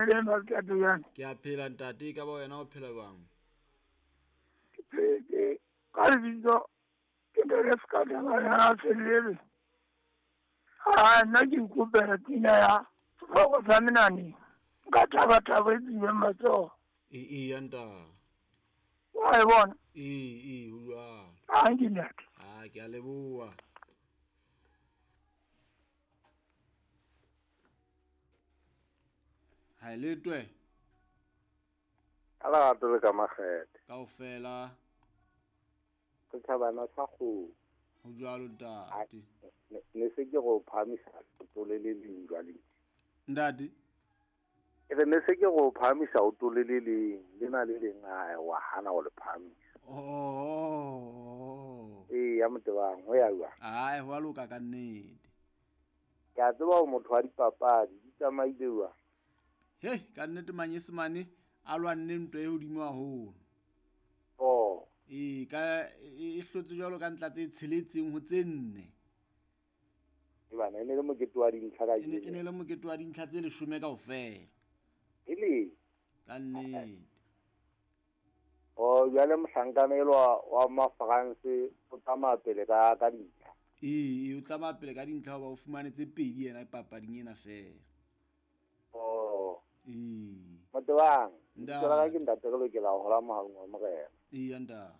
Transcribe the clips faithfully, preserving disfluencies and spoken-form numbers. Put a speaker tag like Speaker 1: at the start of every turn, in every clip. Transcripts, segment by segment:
Speaker 1: Le ntate jwang?
Speaker 2: Ke a phela ntate, ka ba wena o phela jwang?
Speaker 1: Ke phetse ka lebitso ke ntate Sekatana ya Selebe. Ha nna ke ikopela pina ya sehloko sa menane nka thaba thabo e tswileng matsoho.
Speaker 2: E e nta.
Speaker 1: Wa e bona?
Speaker 2: E e ho jwalo.
Speaker 1: Ha nke ntate.
Speaker 2: Ah, ke a leboha. Ha le twe.
Speaker 3: Ka lerato le ka makgethe.
Speaker 2: Kaofela.
Speaker 3: Setjhabana sa kgomo.
Speaker 2: Ho jwalo ntate.
Speaker 3: Ne se ke go phahamisa leoto le le leng jwale.
Speaker 2: Ntate.
Speaker 3: Ke re ne se ke go phahamisa leoto le le leng, lena le leng a wa hana ho le phahamisa.
Speaker 2: Oh.
Speaker 3: Ee, ya motebang ho ya jwang?
Speaker 2: Ai, ho a loka ka nnete.
Speaker 3: Ke a tseba hore motho wa dipapadi di tsamaile jwang.
Speaker 2: Hei, ka nnete manyesemane a lwanne ntwa e hodimo haholo.
Speaker 3: Oh.
Speaker 2: Ee, ka e hlotse jwalo ka ntla tse tsheletseng ho tse nne.
Speaker 3: E bana e ne le mokete wa dintlha ka
Speaker 2: E ne e ne le mokete wa dintlha tse leshome kaofela.
Speaker 3: E le?
Speaker 2: Ka nnete.
Speaker 3: Oh, jwale mohlankana elwa wa ma-France o tsamaya pele ka ka dintlha.
Speaker 2: Ee, o tsamaya pele ka dintlha hoba o fumane tse pedi yena papading ena feela.
Speaker 3: Oh.
Speaker 2: Ee.
Speaker 3: Motebang, lebitso la ka ke ntate re lokela ho hola mohaleng wa morena.
Speaker 2: Ee, nta.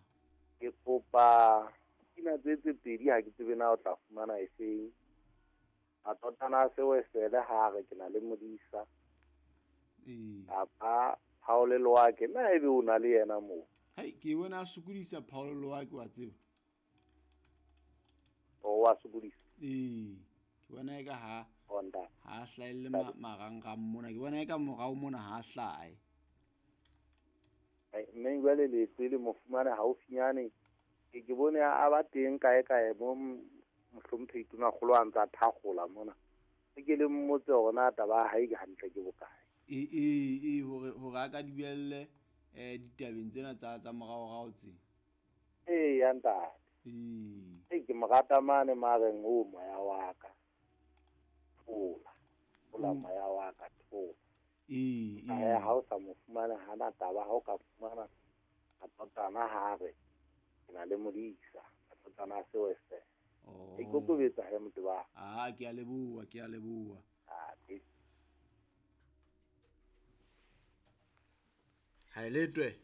Speaker 3: Ke kopa pina tse tse pedi ha ke tsebe na o tla fumana efeng. Matotana a sewesele ha re ke na le modisa.
Speaker 2: Ee.
Speaker 3: Kapa Paul Loake, na ebe o na le yena moo?
Speaker 2: Hai, ke bona a sokodisa Paul Loake wa tseba.
Speaker 3: O wa sokodisa?
Speaker 2: Ee. Ke bona eka ha
Speaker 3: Honda.
Speaker 2: Ha hlahelle marangrang mona, ke bona eka morao mona ha hlahe.
Speaker 3: Ai, mme jwale leeto le mo fumane haufinyane. Ke ke bone a ba teng kae kae mo mohlomphehi Tonakgolo a ntsa thakgola mona. Ke le mmotse hore na taba ya hae ke hantle ke bokae.
Speaker 2: E e e hore hore a ka dibelle eh ditabeng tsena tsa tsa moraorao tse.
Speaker 3: Ee, ya ntate.
Speaker 2: Ee.
Speaker 3: Ee, ke mo rata mane mareng o moya wa ka. Thola. Thola moya wa ka, thola.
Speaker 2: Ee, ee.
Speaker 3: Ha o sa mo fumane hana taba, ha o ka fumana matotana ha re ke na le modisa, matotana a sewese.
Speaker 2: Oh.
Speaker 3: E kokobetsa he motho ba.
Speaker 2: Ah, ke a leboha, ke a leboha.
Speaker 3: Ah, ke.
Speaker 2: Ha le twe.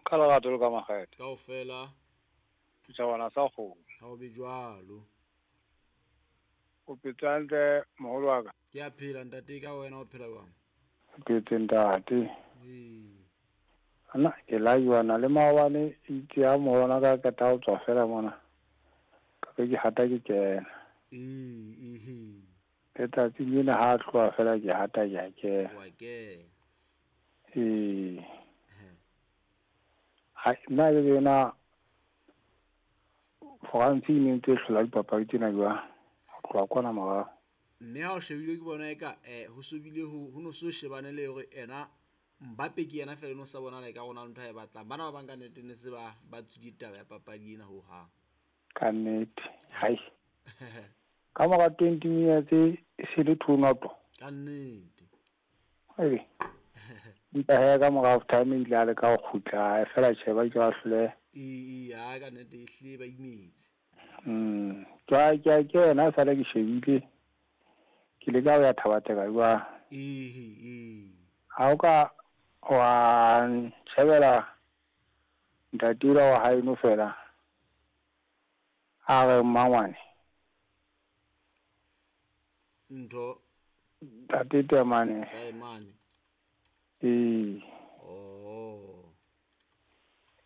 Speaker 4: Ka lerato le ka makgethe.
Speaker 2: Kaofela.
Speaker 4: Setjhabana sa kgomo.
Speaker 2: Ha o be jwalo.
Speaker 4: O phetse hantle moholo wa ka?
Speaker 2: Ke a phela ntate, ka wena o phela jwang?
Speaker 4: Ke phetse ntate.
Speaker 2: Ee.
Speaker 4: Nna ke la jwana le maobane itse ha moholo ka qeta ho tswa fela mona. Ka be ke hata ke kena.
Speaker 2: Ee, ee.
Speaker 4: Letsatsi lena ha tloha fela ke hata ke a kena.
Speaker 2: Wa kena.
Speaker 4: Ee. Ha nna le yena France e ne ntse e hlola dipapadi tsena jwang? Ho tloha kwana morao.
Speaker 2: Mme ha o shebile ke bona eka eh ho sobile ho ho no so shebane le hore ena Mbappe ke yena fela no sa bona le ka rona ntho e batlang. Bana ba bang ka nnete ne se ba ba tswile taba ya papadi ena ho hang.
Speaker 4: Ka nnete. Hai. Ka mora twenty minutes e se le two noto.
Speaker 2: Ka nnete.
Speaker 4: Hai. Empa he ka mora half time ile a leka ho kgutla fela tjhe ba ke ba hlole.
Speaker 2: Ee, ee, ha ka nnete e hlile ba imetse.
Speaker 4: Mm, ke ke ke yena sale ke shebile. Ke leka ho ya Thabateka jwang.
Speaker 2: Ee, ee.
Speaker 4: Ha o ka wa shebela ntate wa hae no fela. A re mmangwane.
Speaker 2: Ntho
Speaker 4: ntate Temane.
Speaker 2: Temane.
Speaker 4: Ee.
Speaker 2: Oh.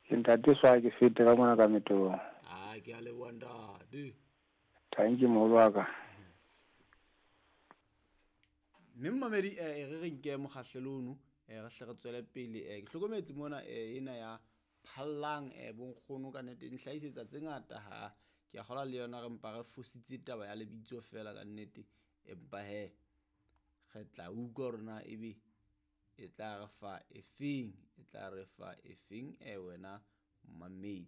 Speaker 4: Ke ntate swa ke fete ka mona ka metong.
Speaker 2: Ah, ke a leboha ntate.
Speaker 4: Thank you moholo wa ka.
Speaker 2: Mme mmamedi eh re re nke mokgahlelo ono eh re hle re tswele pele eh ke hlokometse mona eh ena ya phallang eh bonkgono ka nnete nhlahisetsa tse ngata ha ke a kgola le yona re mpa re fositse taba ya lebitso fela ka nnete empa he re tla utlwa hore na ebe e tla re fa efeng e tla re fa efeng eh wena mmamedi.